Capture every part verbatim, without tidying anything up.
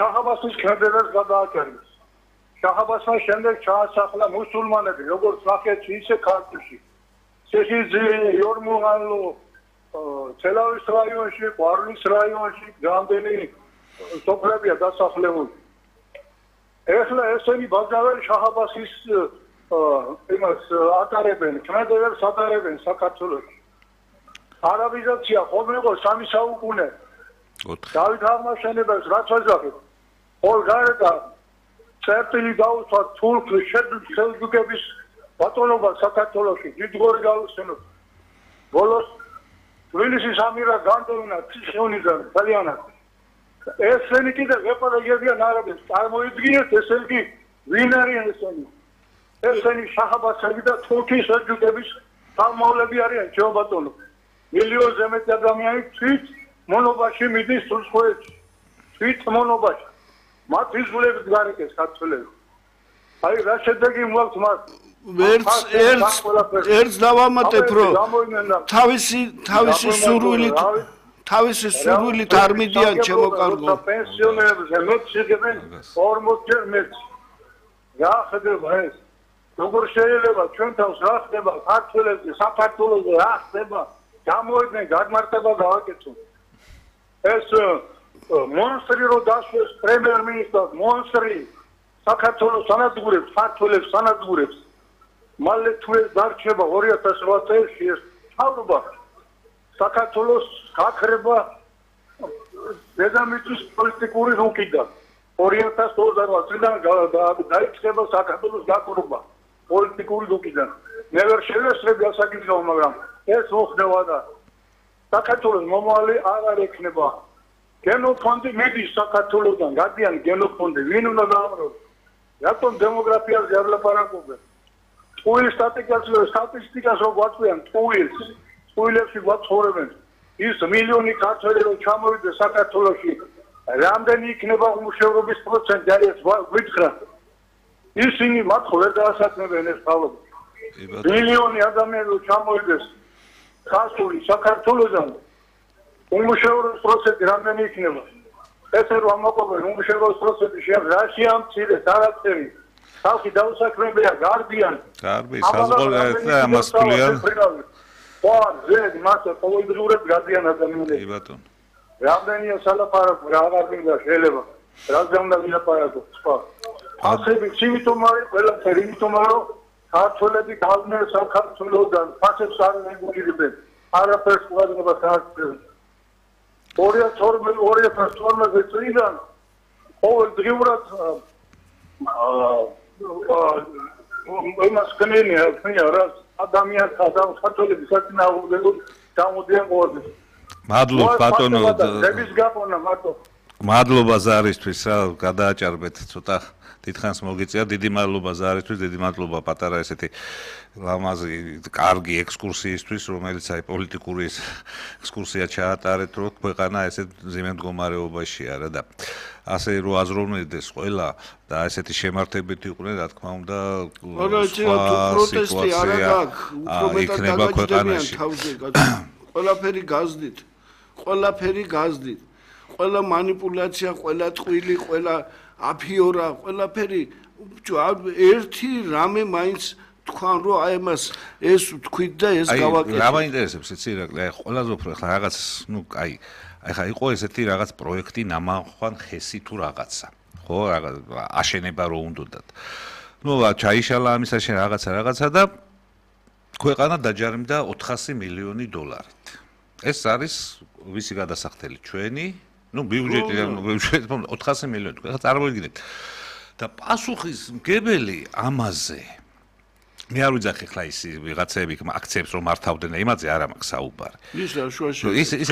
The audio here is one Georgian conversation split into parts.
შაჰ-აბასის კენდერებს გადააჭერეს. შაჰ-აბასმა შემდეგ ჩაასახლა მუსულმანები, როგორც ნახეთში, ისე ქართლში. ციხისძირი, იორმუღანლო, თელავის რაიონში, ყვარლის რაიონში რამდენი სოფლებია დასახლებული. ეხლა ესენი ბაზარი შაჰ-აბასის იმას ატარებენ, კენდერებს ატარებენ საქართველოში. არაბიზაცია ხოლმე იყო სამი საუკუნე. დავით აღმაშენებელს რაც ვაძახეთ, ყოველ გარდა წერტილი დაუსვა თურქი სელჯუკების ბატონობა საქართველოში დიდგორი გავიხსენოთ. ბოლოს თბილისის ამირა განდევნა ციხეონიდან ძალიანად. ესენი კიდევ ეპარეგებიან არაბებს, წარმოიდგინეთ ესენი ვინ არიან ესენი? ესენი შაჰ-აბასელი და თურქის სელჯუკების თავმოვლები არიან ჩემო ბატონო. მილიონზე მეტი ადამიანი თვით მონობაში მიდის სულსხვეეთში. თვით მონობაში. მათ იზულებით გარეკეს ქართველები. აი რა შედეგი მოაქვს მათ? ერთს ერთს ერთს დავამატებ რომ თავისი თავისი სურვილით თავისი სურვილით არ მიდიან ჩემო კარგო. პენსიონერებზე მეციგებენ ორმოც ჯერ მეც. რა ხდება ეს? როგორ შეიძლება ჩვენ თავს რა ხდება ქართველებზე, საქართველოზე რა ხდება? გამოიდნენ გადმარტება გავაკეთოთ. ეს მონსტრი რო დასვეს პრემიერ-მინისტრს, მონსტრი საქართველოს სანადგურებს, ქართველებს სანადგურებს. მალე თუ ეს დარჩება ორი ათას ოთხ წელში ეს თავრობა საქართველოს გაქრება დედამიწის პოლიტიკური რუკიდან. ორი ათას ოცდაოთხ წლიდან დაიწყება საქართველოს გაქრობა პოლიტიკური რუკიდან. მე ვერ შევესწრები ასაკითხო, მაგრამ ეს მოხდება და საქართველოს მომავალი აღარ ექნება. გენოფონდი მიდის საქართველოსგან, გადიან გენოფონდი, ვინ უნდა დაამროს? რატომ დემოგრაფიაზე არ ლაპარაკობენ? ტყუილის სტატისტიკას სტატისტიკას რო გვაწვიან, ტყუილს, ტყუილებში გვაცხოვრებენ. ის მილიონი ქართველი რო ჩამოვიდეს საქართველოში, რამდენი იქნება უმუშევრობის პროცენტი არის გვიხრა. ისინი მათ ხო ვერ დაასაქმებენ ეს თავობა. მილიონი ადამიანი რო ჩამოვიდეს ხასული საქართველოსგან უმუშევრობის პროცენტი რამდენი იქნება? ესე რომ ამოყობენ უმუშევრობის პროცენტი შეამ რაში ამცირეს არაფერი. ხალხი დაუსაქმებია, გარბიან. გარბი, საზღვარგარეთ და ამას ფლიან. ხო, ზედ მასე ყოველდღიურად გადიან ადამიანები. კი ბატონო. რამდენია სალაპარაკო, რა აღარ მინდა შეიძლება. რაზე უნდა ვილაპარაკო, სხვა. ასები იმიტომ არის ყველაფერი, იმიტომ რომ ქართველები გავდნენ საქართველოსგან, ფასებს არ ეგულებენ. არაფერს ყურადღებას არ აკეთებენ. ორი ათას ორმოცდაოთხ წლიდან ყოველდღიურად იმას კნენია, კნენია რა ადამიანს ქართველები საწინააღმდეგოდ გამოდიან ყოველდღე. მადლობა ბატონო. დების გაფონა მარტო. მადლობა ზარისთვის რა გადააჭარბეთ ცოტა დიდხანს მოგიწია. დიდი მადლობა ზარისთვის, დიდი მადლობა პატარა ესეთი ლამაზი კარგი ექსკურსიისთვის, რომელიც აი პოლიტიკური ექსკურსია ჩაატარეთ, რომ ქვეყანა ესეთ მძიმე მდგომარეობაშია რა და ასე რომ აზროვნებდეს ყველა და ესეთი შემართებით იყვნენ, რა თქმა უნდა, პროტესტი არ აქვს, უფრო მეტად დაგაჯდებიან თავზე, ყველაფერი გაზდით, ყველაფერი გაზდით, ყველა манипуляция, ყველა ტყვილი, ყველა აფიორა, ყველაფერი ერთი რამე მაინც თქვან რომ აი მას ეს თქვით და ეს გავაკეთეთ. აი რა მაინტერესებს იცი ირაკლი, აი ყველაზე უფრო ახლა რაღაც, ну, აი ახლა იყო ესეთი რაღაც პროექტი ნამანხვან ხესი თუ რაღაცა. ხო, რაღაც აშენება რო უნდათ. ну, ჩაიშალა ამის აშენება რაღაცა რაღაცა და ქვეყანა დაჯარიმდა ოთხასი მილიონი დოლარით. ეს არის ვისი გადასახდელი ჩვენი, ну, ბიუჯეტი ოთხასი მილიონი. ახლა წარმოიდგინეთ. და პასუხისმგებელი ამაზე მე არ ვიძახი ხლა ის ვიღაცები აქციებს რომ მართავდნენ იმაზე არ მაქვს საუბარი. ის რა შუაში. ის ის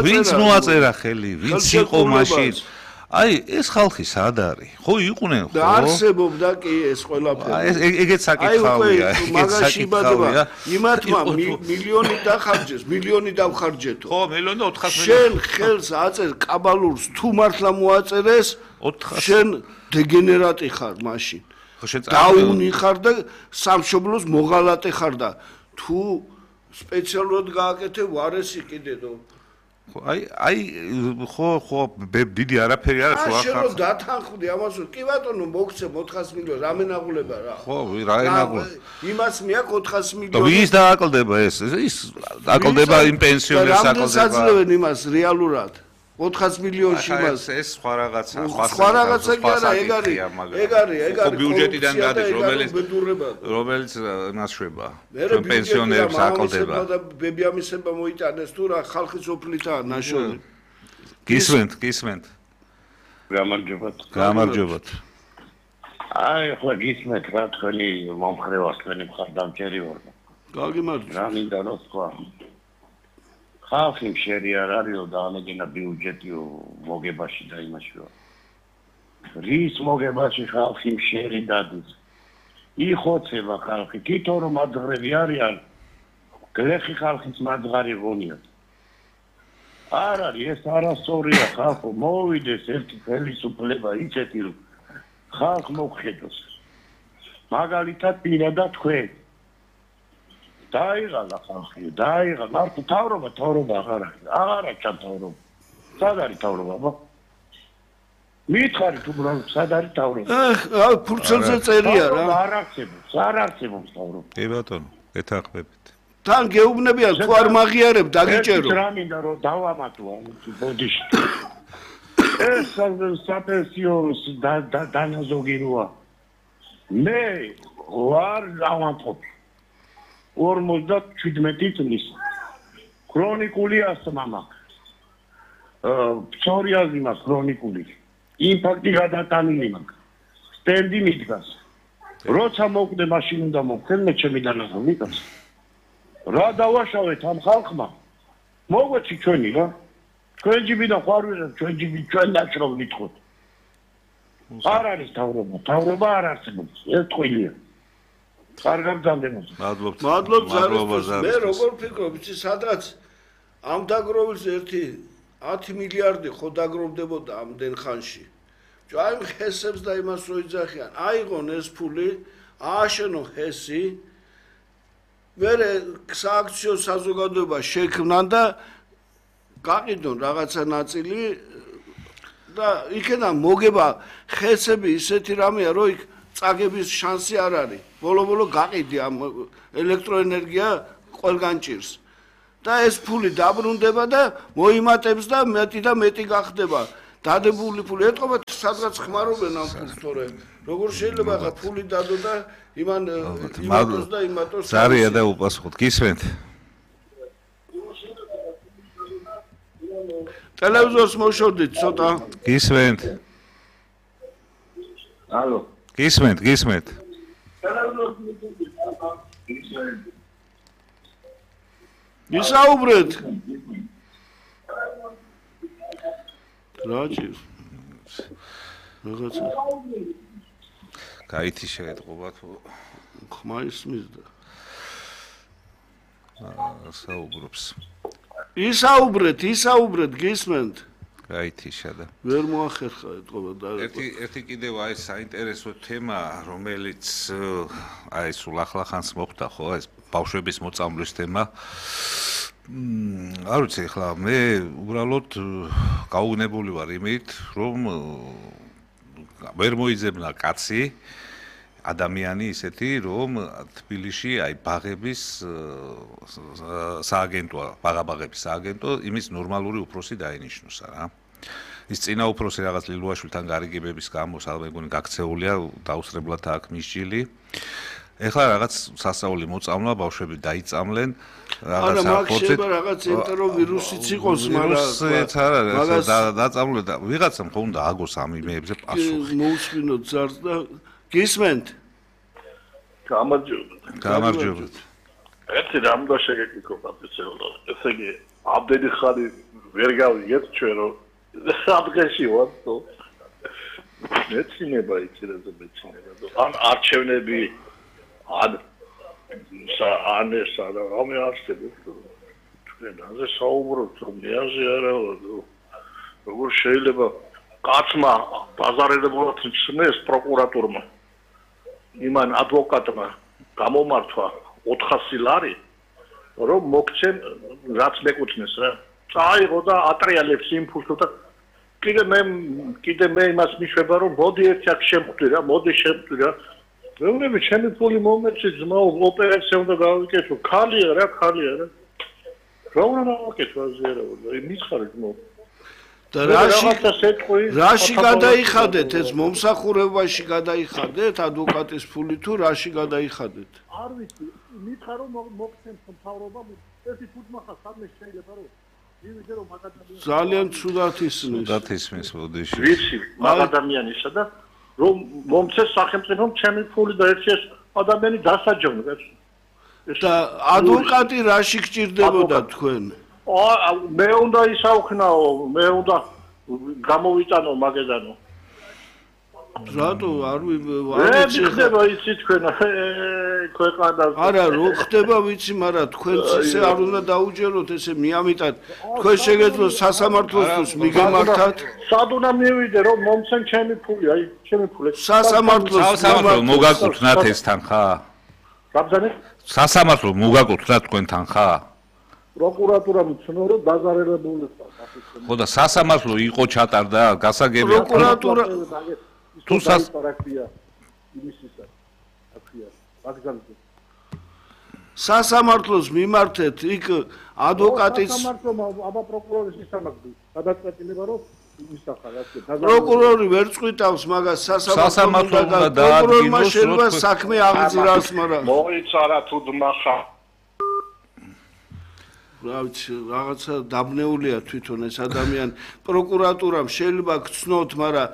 ვინც მოაწერა ხელი, ვინც იყო მაშინ. აი ეს ხალხი სად არის? ხო იყვნენ ხო? და არსებობდა კი ეს ყველაფერი. აი ეგეც საკითხავია, ეგეც საკითხავია. იმათმა მილიონი დახარჯეს, მილიონი დავხარჯეთო. ხო, მილიონი და ოთხასი მილიონი. შენ ხელს აწერ კაბალურს თუ მართლა მოაწერეს, შენ დეგენერატი ხარ მაშინ. დაუნი ხარ და სამშობლოს მოღალატე ხარ და თუ სპეციალურად გააკეთე ვარესი კიდე და აი აი ხო ხო დიდი არაფერი არ არის ახლა შენ დათანხმდი ამას კი ბატონო მოგცე ოთხას მილიონს რამენაღულება რა ხო რაენაღულება იმას მიაკ ოთხას მილიონს და ვის დააკლდება ეს ის დააკლდება იმ პენსიონერს აკლდება რამდენ საძლევენ იმას რეალურად ოთხას მილიონში მას ეს სხვა რაღაცა სხვა რაღაცა კი არა ეგ არის ეგ არის ეგ არის ბიუჯეტიდან გადის რომელიც რომელიც ნაშვება ჩვენ პენსიონერებს აკლდება და ბებიამისება მოიტანეს თუ რა ხალხის ოფლითაა ნაშოვნი გისმენთ გისმენთ გამარჯობათ გამარჯობათ აი ხო გისმენთ რა თქვენი მომხრევას თქვენი მხარდამჭერი ვარ გაგიმარჯობა რა მინდა რომ თქვა ხალხი შერი არ არისო და ამეგენა ბიუჯეტიო მოგებაში და იმაშიო რის მოგებაში ხალხი შერი დადის იხოცება ხალხი თვითონ რომ მაძღრები არიან გლეხი ხალხის მაძღარი ღონიათ არ არის ეს არასწორია ხალხო მოვიდეს ერთი ხელისუფლება იცეთი რომ ხალხ მოგხედოს მაგალითად პირადად თქვენ დაიღალა ხალხი დაიღალა მარტო თავრობა თავრობა აღარ არის აღარ აქვს თავრობა სად არის თავრობა მითხარით უბრალოდ სად არის თავრობა ახ ფურცელზე წერია რა არ არსებობს არ არსებობს თავრობა კი ბატონო ეთანხმებით თან გეუბნებიან თუ არ მაღიარებ დაგიჭერო რა მინდა რომ დავამატო ბოდიში ეს საპენსიო დანაზოგი როა მე ვარ დავამატებ ორმოცდაშვიდმეტი წლის ქრონიკული ასთმა მაქვს ფსორიაზი მაქვს ქრონიკული ინფარქტი გადატანილი მაქვს სტენდი მიდგას როცა მოკვდე მაშინ უნდა მოვხდე მე ჩემი დანაზოგი კაც რა დავაშავეთ ამ ხალხმა მოგვეცი ჩვენი რა ჩვენ ჯიბიდან ხარ ვიღებ ჩვენ ჯიბი ჩვენ ნაჭრობ ვითხოვთ არ არის თავრობა თავრობა არ არსებობს ეს ტყილია კარგად გამდენოთ. მადლობთ. მადლობთ ზაროს. მე როგორ ფიქრობ, იცი სადღაც ამ დაგროვილს ერთი ათი მილიარდი ხო დაგროვდებოდა ამდენ ხანში. აი ხესებს და იმას რო იძახიან. აიღონ ეს ფული, ააშენო ხესი. მე სააქციო საზოგადოება შექმნან და გაყიდონ რაღაცა ნაწილი და იქიდან მოგება ხესები ისეთი რამეა, რომ იქ წაგების შანსი არ არის. ბოლო-ბოლო გაყიდი ამ ელექტროენერგია ყველგან ჭირს. და ეს ფული დაბრუნდება და მოიმატებს და მეტი და მეტი გახდება. დადებული ფული ეთყობა სადღაც ხმარობენ ამ ფულს, თორე როგორ შეიძლება ახლა ფული დადო და იმან იმატოს და იმატოს. ზარია და უპასუხოთ. გისმენთ. ტელევიზორს მოშორდით ცოტა. გისმენთ. ალო. გისმენთ, გისმენთ. ისაუბრეთ. რაჭი. რაღაცა. გაითი შეეთყობა თუ ხმა ისმის და საუბრობს. ისაუბრეთ, ისაუბრეთ, გისმენთ. გაითიშა და ვერ მოახერხა ეთყობა და ერთი ერთი კიდევ აი საინტერესო თემა რომელიც აი სულ ახლახანს მოხდა ხო ეს ბავშვების მოწამვლის თემა მ არ ვიცი ახლა მე უბრალოდ გაუგნებული ვარ იმით რომ ვერ მოიძებნა კაცი ადამიანი ისეთი რომ თბილისში აი ბაღების სააგენტოა ბაღაბაღების სააგენტო იმის ნორმალური უფროსი დაინიშნოსა რა ის წინა უფროსი რაღაც ლილუაშვილთან გარიგებების გამო სამეგონი გაქცეულია დაუსრებლად აქ მისჯილი ეხლა რაღაც სასწაული მოწამლა ბავშვები დაიწამლენ რაღაც აფორცეთ რაღაც ენტეროვირუსიც იყოს მაგრამ მაგას დაწამლე და ვიღაცამ ხო უნდა აგოს ამ იმეებზე პასუხი მოუსმინოთ ზარს და გისმენთ გამარჯობათ გამარჯობათ ერთი რამ და შეგეკითხო პატიცელო ესე იგი ამდენი ხანი ვერ გავიგეთ ჩვენ რომ სადღეში ვარ თო მეცინება იცილებზე მეცინება ან არჩევნები ან ან ეს არა ამე არსებობს თქვენ ასე საუბრობთ რომ მეაზე არა როგორ შეიძლება კაცმა ბაზარებულად ცნეს პროკურატურმა იმან ადვოკატმა გამომართვა ოთხასი ლარი რომ მოგცემ რაც მეკუთვნეს რა წაიღო და ატრიალებს იმპულსს და კიდე მე კიდე მე იმას მიშვება რომ მოდი ერთი აქ შემხვდი რა მოდი შემხვდი რა მეუბნები ჩემი ფული მომეცი ძმაო ოპერაცია უნდა გავიკეთო ხალია რა ხალია რა რა უნდა გავაკეთო აზერაო მიხარი ძმაო და რაში რაში გადაიხადეთ ეს მომსახურებაში გადაიხადეთ ადვოკატის ფული თუ რაში გადაიხადეთ არ ვიცი მითხარ რომ მოგცემ მთავრობამ ერთი ფუტმახა სამე შეიძლება რომ ვიდე რომ მაგადამიანი ძალიან ცუდად ისმის ცუდად ისმის ბოდიში ვიცი მაგადამიანისა და რომ მომცეს სახელმწიფომ ჩემი ფული და ერთი ეს ადამიანი დასაჯოვნე და ადვოკატი რაში გჭირდებოდა თქვენ აა მე უნდა ისაუხნაო მე უნდა გამოვიტანო მაგედანო რატო არ ვიცი ხდება იცი თქვენ ქვეყანას არა რო ხდება ვიცი მაგრამ თქვენც ესე არ უნდა დაუჯეროთ ესე მიამიტად თქვენ შეგეძლო სასამართლოს მიგემართათ სად უნდა მივიდე რომ მომცენ ჩემი ფული აი ჩემი ფული სასამართლოს სასამართლო მოგაკუთვნათ ეს თანხა გაბზანე სასამართლო მოგაკუთვნათ თქვენ თანხა პროკურატურამ ცნო რომ დაზარალებული ხო და სასამართლო იყო ჩატარდა გასაგები პროკურატურა თუ სასპარაკია იმისისა აქია ვაგზალზე სასამართლოს მიმართეთ იქ ადვოკატის სასამართლო აბა პროკურორის ისამაგდი გადაწყვეტილება რომ იმისახარ ასე პროკურორი ვერ წვითავს მაგას სასამართლო უნდა პროკურორმა შეიძლება საქმე აღძრას მაგრამ მოიცარა თუ დმახა რა ვიცი რაღაცა დაბნეულია თვითონ ეს ადამიანი პროკურატურამ შეიძლება გცნოთ მაგრამ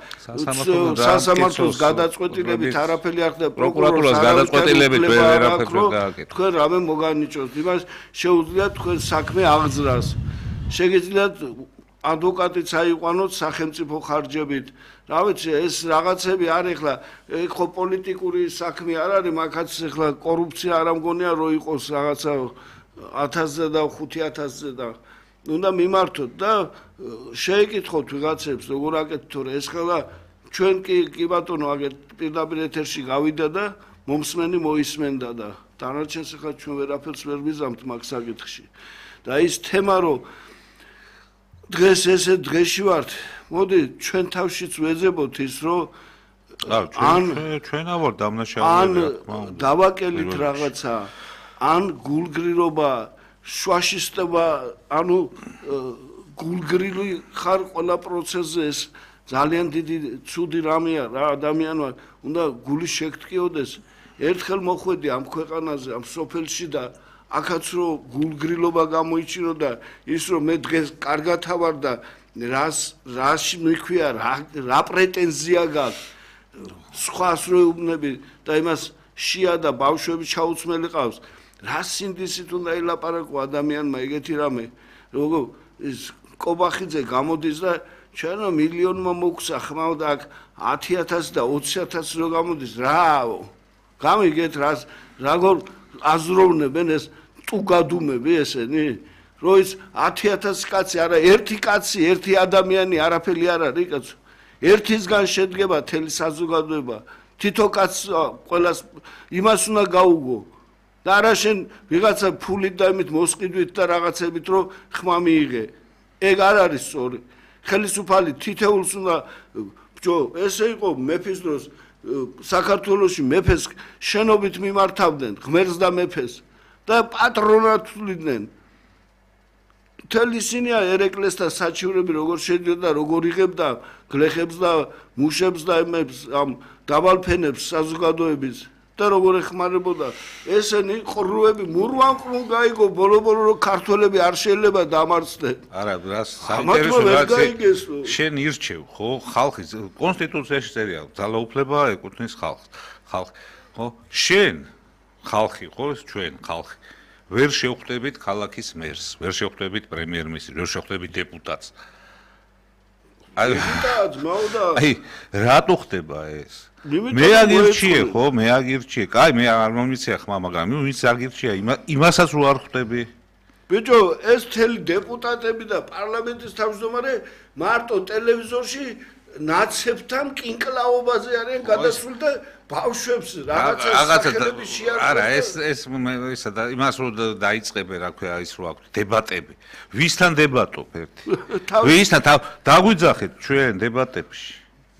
სასამართლოს გადაწყვეტილებით არაფერი არ ხდება პროკურატურას გადაწყვეტილებით ვერაფერს ვერ გააკეთებთ თქვენ რამე მოგანიჭოთ იმას შეუძლიათ თქვენ საქმე აღძრას შეგიძლიათ ადვოკატიც აიყვანოთ სახელმწიფო ხარჯებით რა ვიცი ეს რაღაცები არ ეხლა ეგ ხო პოლიტიკური საქმე არ არის მაგაც ეხლა კორუფცია არ ამგონია რომ იყოს რაღაცა ათასზე და ხუთი ათასზე და უნდა მიმართოთ და შეეკითხოთ ვიღაცებს როგორ აკეთებთ თორე ეს ხელა ჩვენ კი კი ბატონო აგერ პირდაპირ ეთერში გავიდა და მომსმენი მოისმენდა და დანარჩენს ახლა ჩვენ ვერაფერს ვერ ვიზამთ მაგ საკითხში და ის თემა რომ დღეს ესე დღეში ვართ მოდი ჩვენ თავშიც ვეძებოთ ის რომ ან ჩვენა ვარ დამნაშავეები ან დავაკელით რაღაცა ან გულგრილობა შვაშისტება ანუ გულგრილი ხარ ყველა პროცესზე ეს ძალიან დიდი ცუდი რამეა რა ადამიანმა უნდა გული შეგტკიოდეს ერთხელ მოხვედი ამ ქვეყანაზე ამ სოფელში და აქაც რო გულგრილობა გამოიჩინო და ის რომ მე დღეს კარგად ავარ და რას რაში მიქვია რა რა პრეტენზია გაქვს სხვას რო უბნები და იმას შია და ბავშვები ჩაუცმელი ყავს რა სინდისით უნდა ელაპარაკო ადამიანმა ეგეთი რამე როგორ ის კობახიძე გამოდის და ჩვენო მილიონმა მოგცა ხმავ და აქ ათი ათასი და ოცი ათასი რო გამოდის რაო გამიგეთ რას როგორ აზროვნებენ ეს ტუგადუმები ესენი რო ის ათი ათასი კაცი არა ერთი კაცი ერთი ადამიანი არაფერი არ არის კაცო ერთისგან შედგება თელი საზოგადოება თითო კაცს ყველას იმას უნდა გაუგო და არა შენ ვიღაცა ფულით და იმით მოსყიდვით და რაღაცებით რომ ხმა მიიღე ეგ არ არის სწორი ხელისუფალი თითეულს უნდა ბჭო ესე იყო მეფის დროს საქართველოში მეფეს შენობით მიმართავდნენ ღმერთს და მეფეს და პატრონატულიდნენ მთელი ისინია ერეკლეს და საჩივრები როგორ შედიოდა როგორ იღებდა გლეხებს და მუშებს და იმებს ამ დავალფენებს საზოგადოების და როგორ ეხმარებოდა ესენი ყრუები მურვანყრუნ გაიგო ბოლო-ბოლო რომ ქართველები არ შეიძლება დამარცხდნენ არა რას საინტერესო შენ ირჩევ ხო ხალხის კონსტიტუციაში წერია ძალაუფლება ეკუთვნის ხალხს ხალხი ხო შენ ხალხი ხო ეს ჩვენ ხალხი ვერ შევხვდებით ქალაქის მერს ვერ შევხვდებით პრემიერ-მინისტრს ვერ შევხვდებით დეპუტატს აი აი რატო ხდება ეს მე აგირჩიე ხო მე აგირჩიე კაი მე არ მომიცია ხმა მაგრამ ვინც აგირჩია იმასაც რო არ ხვდები ბიჭო ეს მთელი დეპუტატები და პარლამენტის თავმჯდომარე მარტო ტელევიზორში ნაცებთან კინკლაობაზე არიან გადასული და ბავშვებს რაღაცა სახელები შეარჩევენ. არა, ეს ეს ისა და იმას რო დაიწყებენ, რა ქვია, ის რო აქვს დებატები. ვისთან დებატობ ერთი? ვისთან დაგვიძახეთ ჩვენ დებატებში?